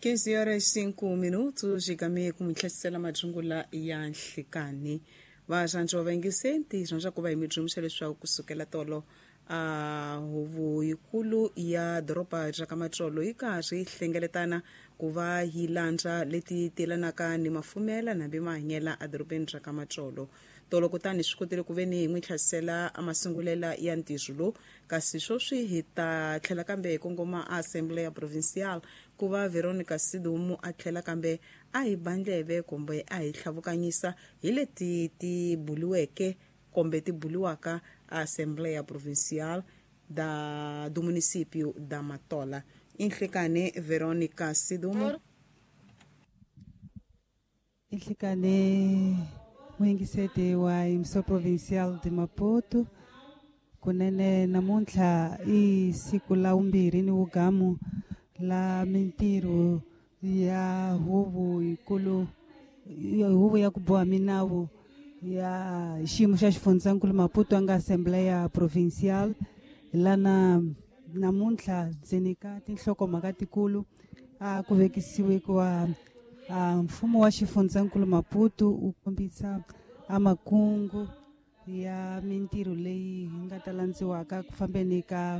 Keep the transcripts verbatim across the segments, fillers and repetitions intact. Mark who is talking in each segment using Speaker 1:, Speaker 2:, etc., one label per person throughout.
Speaker 1: quinze horas cinco minutos, xikame ku mi tlhesela majungula ya nhlikani. Varhandzi va yingisenti rhandza ku va hi mi dyondzisa leswaku kusukela tolo a huvo yikulu ya doroba ra ka Matsolo yi karhi yi hlengeletana ku va yi landza leti telanaka ni mafumela nambi mahanyela edorobeni ra ka Matsolo. Tolo kutani swi kotile ku ve ni hi n'wi hlasela a masungulela ya ntirho lowu, kasi sweswi hi ta tlhela kambe hi kongoma a Assembleia Provincial ku va Veronica Sidumo a tlhela kambe a hi ba ndleve kumbe a hi tlhavukanyisa hi leti ti buliweke kumbe ti buliwaka a Assembleia Provincial da do município da Matola. Inhlikane Veronica Sidumo.
Speaker 2: Inhlikane muyingiseti wa Emissão Provincial de Maputo, kunene namuntlha i siku la vumbirhi ni wugamu la mintirho ya huvo yikulu ya huvo ya ku boha minawu ya xiyimo xa xifundzankulu Maputo a nga Assembleia Provincial. Lana namuntlha ndzeni ka tinhlokomhaka tikulu a ku vekisiwe kuva a mfumo wa xifundzankulu Maputo wu kombisa a makungu ya mintirho leyi yi nga ta landziwaka ku fambeni ka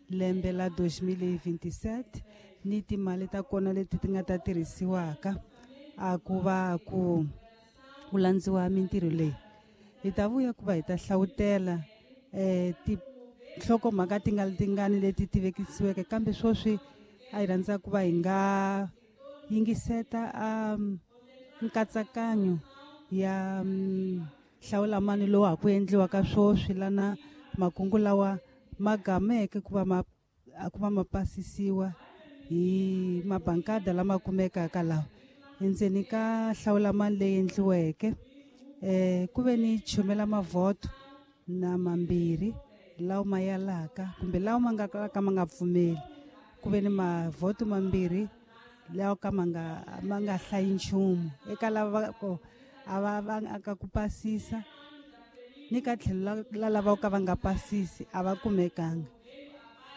Speaker 2: lembe la dois mil e vinte e sete ni timali ta kona leti ti nga ta tirhisiwaka a ku va ku ku landziwa mintirho leyi. Hi ta vuya ku va hi ta hlawutela eh tinhlokomhaka ti nga tingani leti ti vekisiweke, kambe sweswi a hi rhandza ku va hi nga yingiseta a nkatsakanyo ya hlawulamani lowu ha ku endliwaka sweswi lana makungu lawa ma gameke ku va ma ku va ma pasisiwa hi mabankada lama kumekaka lawa. Endzeni ka hlawulamani leyi endliweke eh ku ve ni chumela mavhoto na mambirhi lawa ma yalaka kumbe lawa ma nga ka ma nga pfumeli, ku ve ni mavhoto mambirhi lawa ka ma nga ma nga hlayi nchumu eka lava ko a va va ka ku pasisa ni ka tlhelo la lava ka va nga pasisi a va kumekanga.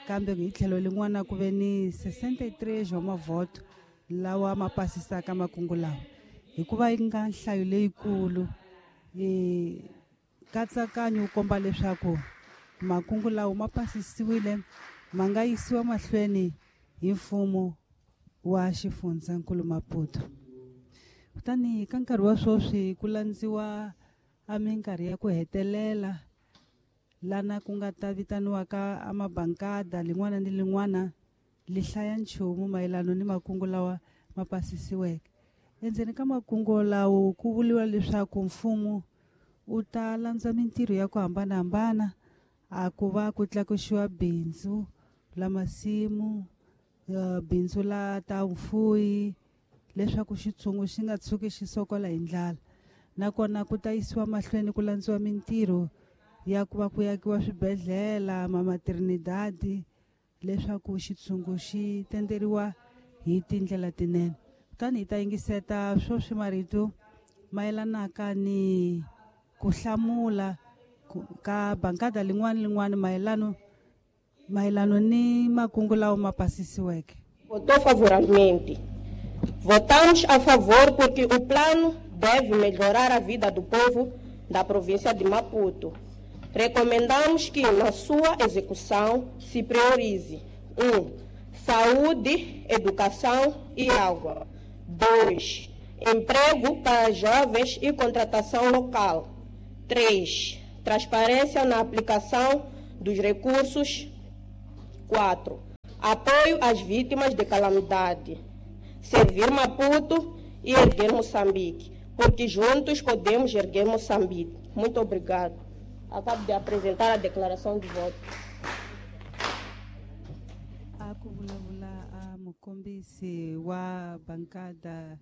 Speaker 2: Kambe hi tlhelo lin'wana ku ve ni sessenta e três wa mavhoto lawa ma pasisaka makungu lawa, hikuva yi nga nhlayo leyikulu. E nkatsakanyo wu komba leswaku makungu lawa ma pasisiwile ma nga yisiwa mahlweni hi mfumo wa xifundzankulu Maputo. Kutani ka nkarhi wa sweswi ku landziwa a minkarhi ya ku hetelela lana ku nga ta vitaniwaka a mabankada lin'wana ni lin'wana li hlaya nchumu mayelana ni makungu lawa ma pasisiweke. Endzeni ka makungu lawo ku vuriwa leswaku mfumo wu ta landza mintirho ya ku hambanahambana a ku va ku tlakusiwa bindzu la masimu, bindzu la ta vufuwi leswaku xitshungu xi nga tshuki xi sokola hi ndlala. Nakona ku ta yisiwa mahlweni ku landziwa mintirho ya ku va ku akiwa swibedhlele, mamaternidade leswaku xitshungu xi tenderiwa hi tindlela tinene. Kutani hi ta yingiseta sweswi marito mayelanaka ni ku hlamula ka bankada lin'wana lin'wana mayelano mayelano ni makungu lawa ma pasisiweke.
Speaker 3: Votou favoravelmente. Votamos a favor porque o plano deve melhorar a vida do povo da província de Maputo. Recomendamos que, na sua execução, se priorize um. Saúde, educação e água. dois. Emprego para jovens e contratação local. três. Transparência na aplicação dos recursos. quatro. Apoio às vítimas de calamidade. Servir Maputo e erguer Moçambique, porque juntos podemos erguer Moçambique. Muito obrigado. Acabo de apresentar a declaração de voto.
Speaker 2: A ku vulavula a mukombisi wa bankada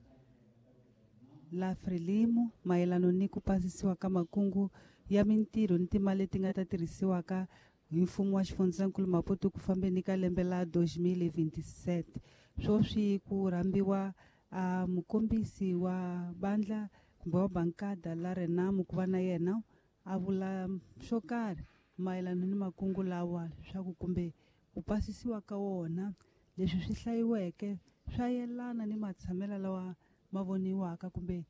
Speaker 2: la Frelimo mayelana ni ku pasisiwa ka makungu ya mintirho ni timali leti nga ta tirhisiwaka hi mfumo wa xifundzankulu Maputo ku fambeni ka lembe la dois mil e vinte e sete. Sweswi ku rhambiwa a mukombisi wa bandla kumbe wa bankada la Renamo ku va na yena a vula swo karhi mayelana ni makungu lawa leswaku kumbe ku pasisiwa ka wona leswi swi hlayiweke swa yelana ni matshamelo lawa ma voniwaka kumbe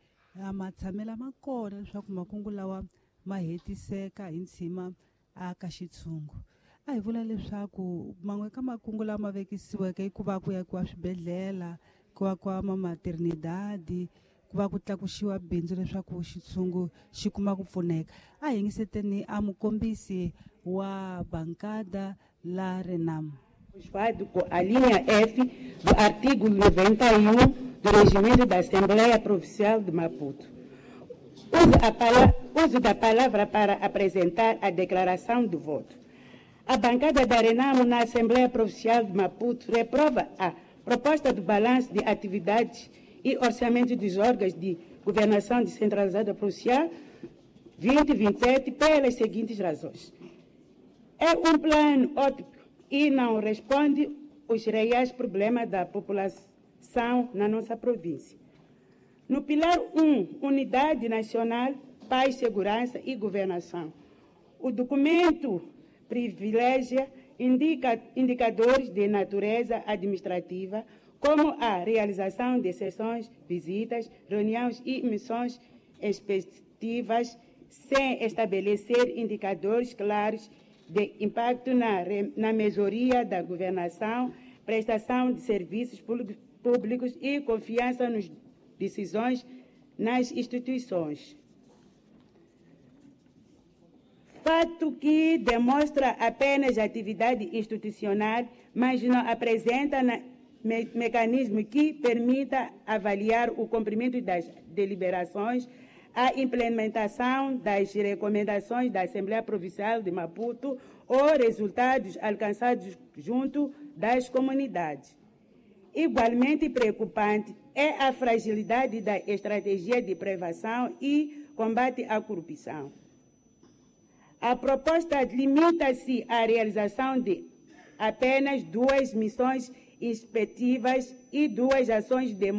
Speaker 2: matshamelo ma kona leswaku makungu lawa ma hetiseka hi ntshima aka xitshungu. A hi vula leswaku man'we ka makungu lama ma vekisiweke i ku va ku yakiwa swibedhlele, ku akiwa mamaternidadi, ku va ku tlakusiwa bindzu leswaku xitshungu xi kuma ku pfuneka. A hi yingiseteni a mukombisi wa bankada la Renamo.
Speaker 4: Com a linha F do artigo noventa e um do Regimento da Assembleia Provincial de Maputo. Uso, a pala- uso da palavra para apresentar a declaração do voto. A bancada da Renamo na Assembleia Provincial de Maputo reprova a proposta do balanço de atividades e orçamento dos órgãos de governação descentralizada provincial vinte e vinte e sete pelas seguintes razões. É um plano ótimo e não responde os reais problemas da população na nossa província. No pilar um, Unidade Nacional, Paz, Segurança e Governação, o documento privilegia indica, indicadores de natureza administrativa, como a realização de sessões, visitas, reuniões e missões respectivas, sem estabelecer indicadores claros de impacto na, na melhoria da governação, prestação de serviços públicos e confiança nas decisões nas instituições. Fato que demonstra apenas atividade institucional, mas não apresenta na, me, mecanismo que permita avaliar o cumprimento das deliberações, a implementação das recomendações da Assembleia Provincial de Maputo ou resultados alcançados junto das comunidades. Igualmente preocupante é a fragilidade da estratégia de prevenção e combate à corrupção. A proposta limita-se à realização de apenas duas missões inspetivas e duas ações de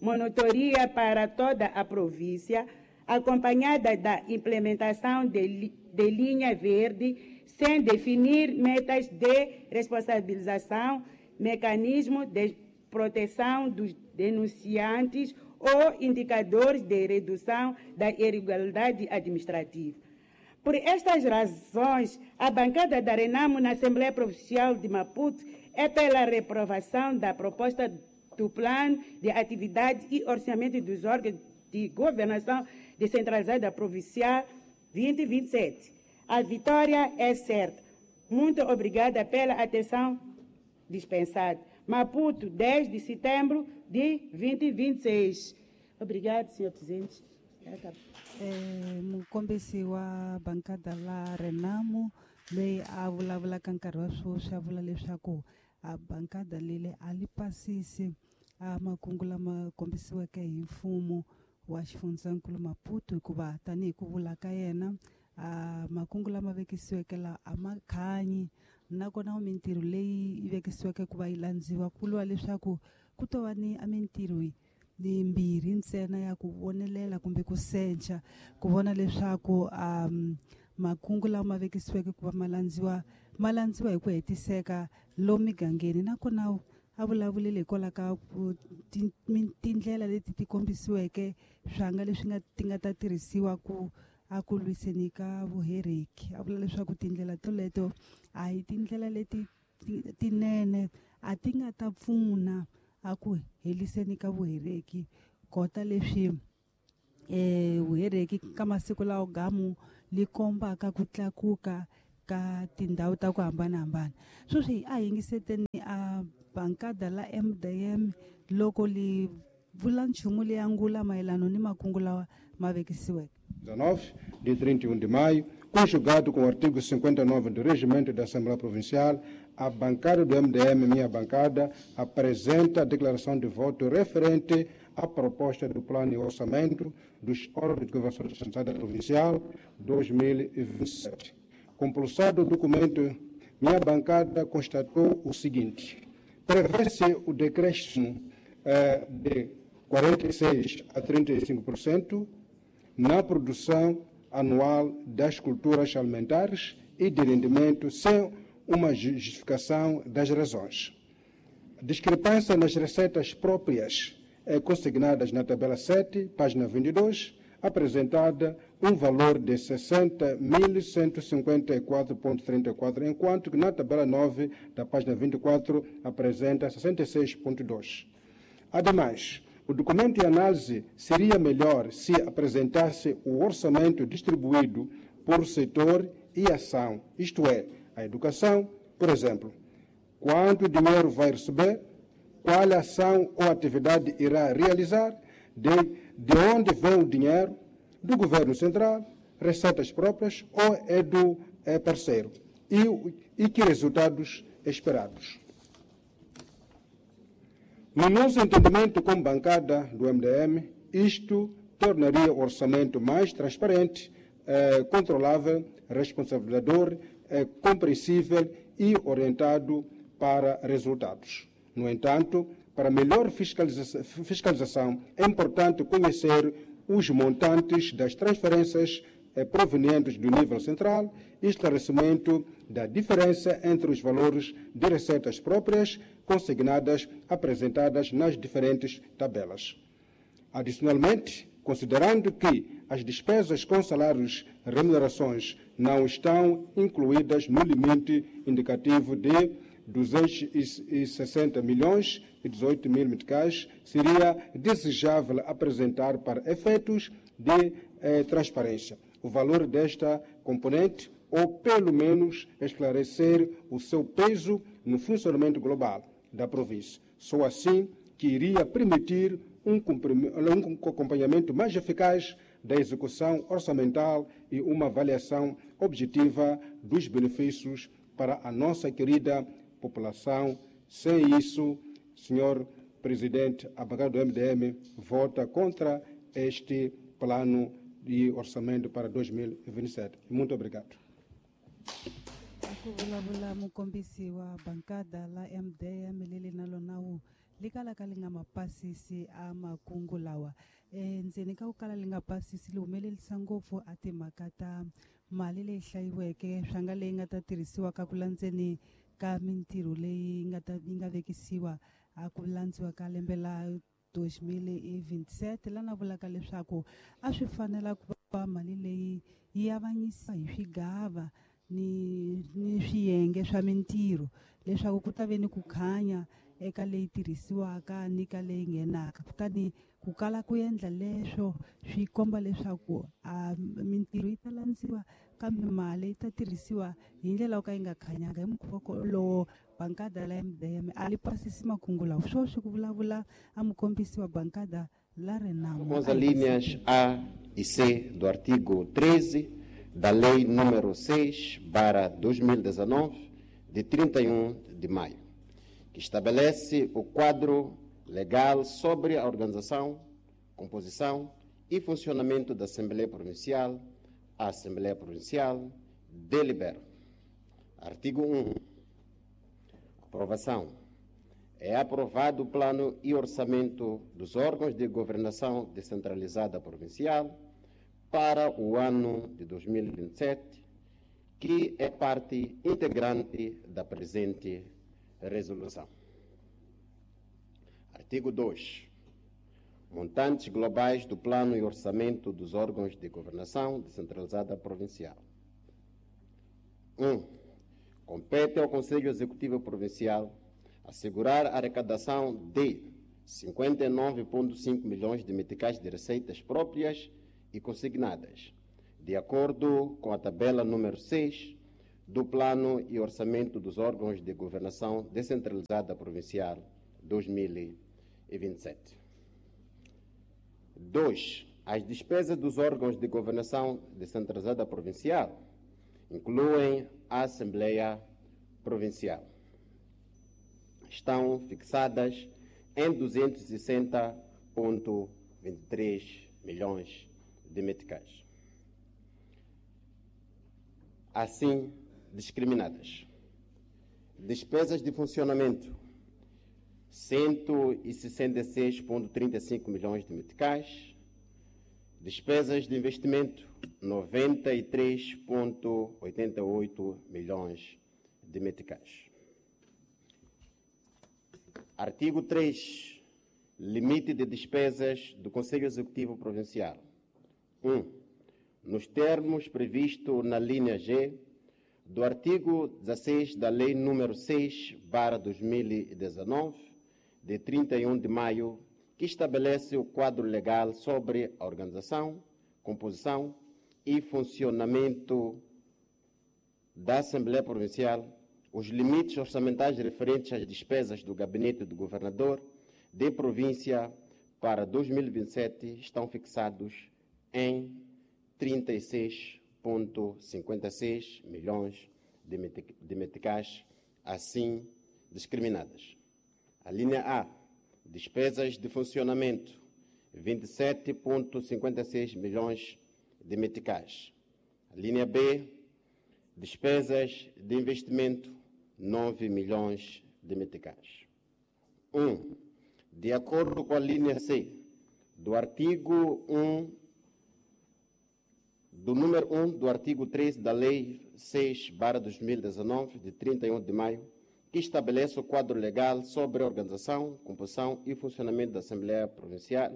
Speaker 4: monitoria para toda a província, acompanhada da implementação de, de linha verde, sem definir metas de responsabilização, mecanismo de proteção dos denunciantes ou indicadores de redução da irregularidade administrativa. Por estas razões, a bancada da Renamo na Assembleia Provincial de Maputo é pela reprovação da proposta do Plano de Atividade e Orçamento dos Órgãos de Governação Descentralizada Provincial vinte e vinte e sete. A vitória é certa. Muito obrigada pela atenção dispensada. Maputo, dez de setembro de vinte e vinte e seis. Obrigada, senhor presidente.
Speaker 2: Eh, mukombisi wa bankada la Renamo leyi a vulavulaka nkarhi wa sweswi a vula leswaku a bankada lele a li pasisi a makungu lama kombisiweke hi mfumo wa xifundzankulu Maputo, hikuva tanihi ku vula ka yena a makungu lama vekisiweke la a ma khanyi, nakona mintirho leyi yi vekisiweke ku va yi landziwa ku vuriwa leswaku ku to va ni a mintirho yimbirhi ntsena ya ku vonelela kumbe ku sencha ku vona leswaku um makungu lama vekisiweke ku va ma landziwa ma landziwa hi ku hetiseka lomu migangeni. Nakona a vulavulile hikwalaho ka tindlela leti ti kombisiweke swanga leswi nga ti nga ta tirhisiwa ku a ku lwiseni ka vuhereki. A vula leswaku tindlela toleto a hi tindlela leti tinene, a ti nga ta pfuna a ku heliseni ka vuhereki, kota leswi eh vuhereki ka masiku lawa gamu li kombaka ku tlakuka ka tindhawu ta ku hambanahambana. Sweswi a yingiseteni a bankada la M D M loko li vula nchumu leyi angula mayelana ni makungu lawa ma vekisiweke.
Speaker 5: dezenove de trinta e um de maio, conjugado com o artigo cinquenta e nove do Regimento da Assembleia Provincial, a bancada do M D M, minha bancada, apresenta a declaração de voto referente à proposta do Plano de Orçamento dos Órgãos de Governação Descentralizada Provincial dois mil e vinte e sete. Compulsado o documento, minha bancada constatou o seguinte: prevê-se o decréscimo eh, de quarenta e seis a trinta e cinco por cento na produção anual das culturas alimentares e de rendimento, sem uma justificação das razões. Discrepância nas receitas próprias eh, consignadas na tabela sete, página vinte e dois, apresentada um valor de sessenta mil cento e cinquenta e quatro vírgula trinta e quatro, enquanto que na tabela nove da página vinte e quatro apresenta sessenta e seis vírgula dois. Ademais, o documento de análise seria melhor se apresentasse o orçamento distribuído por setor e ação, isto é, a educação, por exemplo. Quanto dinheiro vai receber, qual ação ou atividade irá realizar, de, de onde vem o dinheiro, do governo central, receitas próprias ou é do é parceiro, e, e que resultados esperados. No nosso entendimento como bancada do M D M, isto tornaria o orçamento mais transparente, eh, controlável, responsabilizador, eh, compreensível e orientado para resultados. No entanto, para melhor fiscaliza- fiscalização, é importante conhecer os montantes das transferências eh, provenientes do nível central e esclarecimento da diferença entre os valores de receitas próprias consignadas apresentadas nas diferentes tabelas. Adicionalmente, considerando que as despesas com salários e remunerações não estão incluídas no limite indicativo de duzentos e sessenta milhões e dezoito mil meticais, seria desejável apresentar para efeitos de eh, transparência o valor desta componente ou, pelo menos, esclarecer o seu peso no funcionamento global da província. Só assim que iria permitir um acompanhamento mais eficaz da execução orçamental e uma avaliação objetiva dos benefícios para a nossa querida população. Sem isso, senhor presidente, a bancada do M D M vota contra este plano de orçamento para dois mil e vinte e sete. Muito obrigado.
Speaker 2: Ku vulavula mukombisi wa bankada la M D M leli na lona wu li kalaka li nga mapasisi a makungu lawa endzeni ka ku kala li nga pasisi li humelerisa ngopfu a timhaka ta mali leyi hlayiweke swa nga leyi nga ta tirhisiwa ka ku landzeni ka mintirho leyi nga ta yi nga vekisiwa a ku landziwa ka lembe la dois mil e vinte e sete lana vulaka leswaku a swi fanela ku va mali leyi yi avanyisa hi swigava ni ni swiyenge swa mintirho leswaku ku ta ve ni ku khanya eka leyi tirhisiwaka ni ka leyi nghenaka kutani ku kala ku endla leswo swi komba leswaku a mintirho yi ta landziwa kambe mali yi ta tirhisiwa hi ndlela yo ka yi nga khanyanga hi mukhuva lowo bankada la M D M a li pasisi makungu lawa swoswi ku vulavula a mukombisi wa bankada la Renamo.
Speaker 6: Com as alíneas A e C do artigo treze da Lei número seis barra dois mil e dezenove, de trinta e um de maio, que estabelece o quadro legal sobre a organização, composição e funcionamento da Assembleia Provincial, a Assembleia Provincial delibera. Artigo um. Aprovação. É aprovado o plano e orçamento dos órgãos de governação descentralizada provincial para o ano de dois mil e vinte e sete, que é parte integrante da presente resolução. Artigo dois. Montantes globais do plano e orçamento dos órgãos de governação descentralizada provincial. um. Compete ao Conselho Executivo Provincial assegurar a arrecadação de cinquenta e nove vírgula cinco milhões de meticais de receitas próprias e consignadas, de acordo com a tabela número seis do Plano e Orçamento dos Órgãos de Governação Descentralizada Provincial dois mil e vinte e sete. dois. As despesas dos órgãos de governação descentralizada provincial incluem a Assembleia Provincial. Estão fixadas em duzentos e sessenta vírgula vinte e três milhões de meticais. Assim discriminadas. Despesas de funcionamento, cento e sessenta e seis vírgula trinta e cinco milhões de meticais. Despesas de investimento, noventa e três vírgula oitenta e oito milhões de meticais. Artigo três. Limite de despesas do Conselho Executivo Provincial. um. Nos termos previstos na linha G do artigo dezasseis da Lei número seis barra dois mil e dezenove, de trinta e um de maio, que estabelece o quadro legal sobre a organização, composição e funcionamento da Assembleia Provincial, os limites orçamentais referentes às despesas do gabinete do governador de província para dois mil e vinte e sete estão fixados em trinta e seis vírgula cinquenta e seis milhões de meticais, assim discriminadas. A linha A, despesas de funcionamento, vinte e sete vírgula cinquenta e seis milhões de meticais. A linha B, despesas de investimento, nove milhões de meticais. um. De acordo com a linha C do artigo um, do número um do artigo treze da Lei seis barra dois mil e dezenove, de trinta e um de maio, que estabelece o quadro legal sobre a organização, composição e funcionamento da Assembleia Provincial,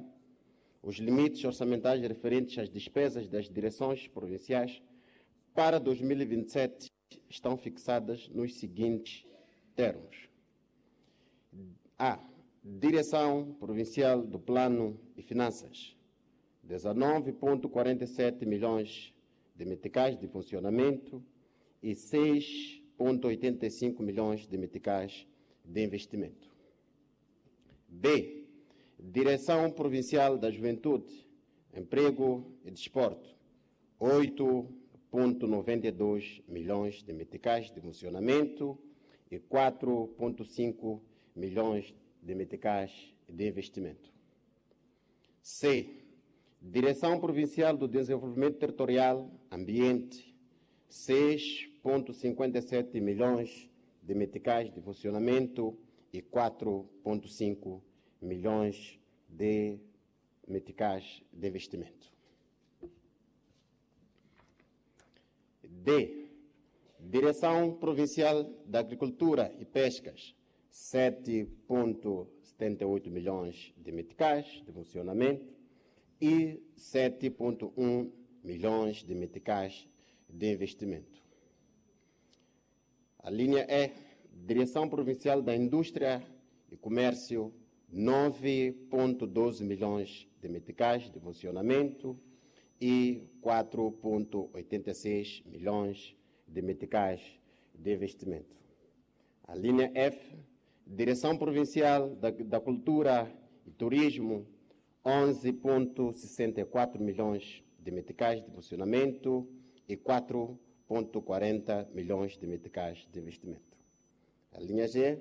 Speaker 6: os limites orçamentais referentes às despesas das direções provinciais para dois mil e vinte e sete estão fixadas nos seguintes termos. A. Direção Provincial do Plano e Finanças, dezenove vírgula quarenta e sete milhões de meticais de funcionamento e seis vírgula oitenta e cinco milhões de meticais de investimento. B. Direção Provincial da Juventude, Emprego e Desporto, oito vírgula noventa e dois milhões de meticais de funcionamento e quatro vírgula cinco milhões de meticais de investimento. C. Direção Provincial do Desenvolvimento Territorial, Ambiente, seis vírgula cinquenta e sete milhões de meticais de funcionamento e quatro vírgula cinco milhões de meticais de investimento. D. Direção Provincial da Agricultura e Pescas, sete vírgula setenta e oito milhões de meticais de funcionamento e sete vírgula um milhões de meticais de investimento. A linha E, Direção Provincial da Indústria e Comércio, nove vírgula doze milhões de meticais de funcionamento e quatro vírgula oitenta e seis milhões de meticais de investimento. A linha F, Direção Provincial da, da Cultura e Turismo, onze vírgula sessenta e quatro milhões de meticais de funcionamento e quatro vírgula quarenta milhões de meticais de investimento. A linha G,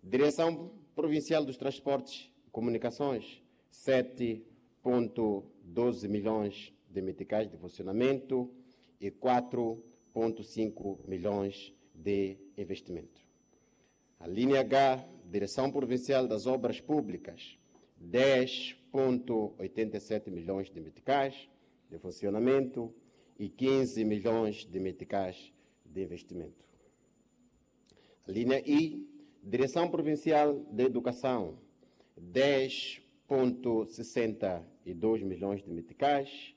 Speaker 6: Direção Provincial dos Transportes e Comunicações, sete vírgula doze milhões de meticais de funcionamento e quatro vírgula cinco milhões de investimento. A linha H, Direção Provincial das Obras Públicas, dez vírgula oitenta e sete milhões de meticais de funcionamento e quinze milhões de meticais de investimento. A linha I, Direção Provincial de Educação, dez vírgula sessenta e dois milhões de meticais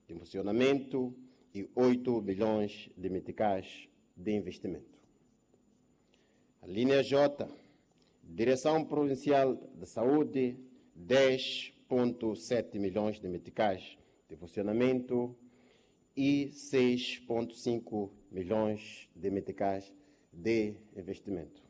Speaker 6: de funcionamento e oito milhões de meticais de investimento. A linha J, Direção Provincial de Saúde, dez vírgula sete milhões de meticais de funcionamento e seis vírgula cinco milhões de meticais de investimento.